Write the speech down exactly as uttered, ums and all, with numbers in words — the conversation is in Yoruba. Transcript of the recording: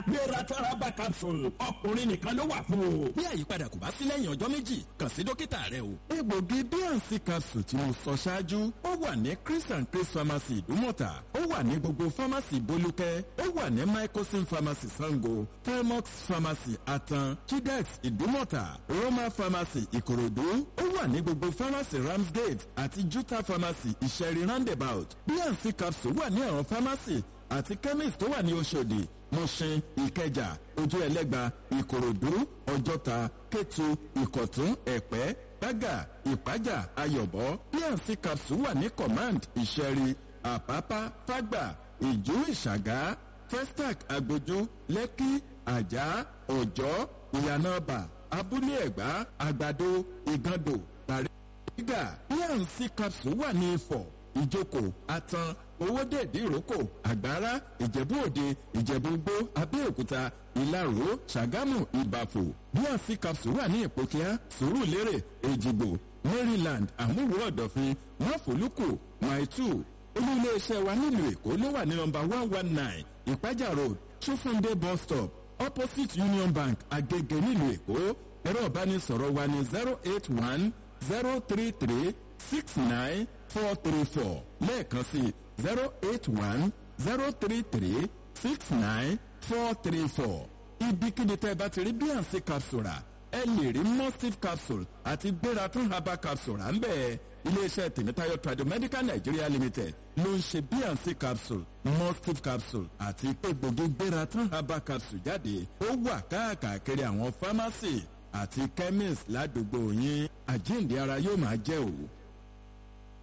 Gbéra Taraba capsule, ọkùnrin nìkan ló wà fún o. Bí àyípadà kò bá sí lẹ́yìn ọjọ́ méjì, kàn sí dókítà rẹ o. Egbògi B and C capsule tí mo sọ ṣáájú, ó wà ní Chris and Chris Pharmacy Ìdúmọ̀tà, ó wà ní gbogbo pharmacy Bolúkẹ́, ó wà ní Mycosin Pharmacy Sango, Telmox Pharmacy Atan, Chidex Ìdúmọ̀tà, Roma Pharmacy Ìkòròdú, ó wà ní gbogbo pharmacy Ramsgate àti Juta Pharmacy Ìṣẹ̀rí Roundabout. B and C capsule wà ní àwọn pharmacy àti chemist tó wà ní Oṣòdì, Mushin, Ìkẹjà, Ojú Ẹlẹ́gba, Ìkòròdú, Ọjọ́ta, Kétu, Ìkọ̀tún, Ẹ̀pẹ́, Bágà, Ìpájà, Ayọ̀bọ. B and C capsule wà ní Command Ìṣẹ̀rí, Àpápá, Fágbà, Ìjú, Ìṣàgá, Festac, Agbójú, Lẹ́kí, Àjà, Ọ̀jọ́, Ìyànàbà, Abúlé Ẹ̀gbá, Àgbàdo, Ìgàndò, Bàrígà. B and C capsule wà ní Ifọ̀, Ìjókòó, Atan, Owódé, Ìdíròkò, Àgbára, Ìjẹ̀bú Òde, Ìjẹ̀bú Gbó, Abẹ́òkúta, Ìlaró, Ṣàgámù, Ìbàfò. B and C capsule wà ní Ìpókíá, Sùúrùlérè, Èjìgbò, Maryland, Àmúwò, Ọ̀dọ̀fin, Máfòlùkù, Maitu. Olú iléeṣẹ́ wa nílùú Èkó ló wà ní nọmba one one nine Ìpájà Road, Ṣófúndé bus stop, opposite Union Bank, Agege, nílùú Èkó. Ẹ̀rọ ìbánisọ̀rọ̀ wa ní zero eight one zero three three six nine four three four. Lẹ́ẹ̀kan sí, zero eight one zero three three six nine four three four. Ibikíbi tẹ́ ẹ bá ti rí B and C capsule rà, ẹ lè rí Mustif capsule àti Gbératún herbal capsule rà ń bẹ́ẹ̀. Iléeṣẹ́ Tèmítáyọ̀ Tradomedical Nigeria Limited ló ń ṣe B and C capsule, Mustif capsule àti egbògi Gbératún herbal capsule jáde. Ó wà káàkiri àwọn pharmacy àti chemist ládùúgbò yín. Àjíǹde ara yóò máa jẹ́ òwò.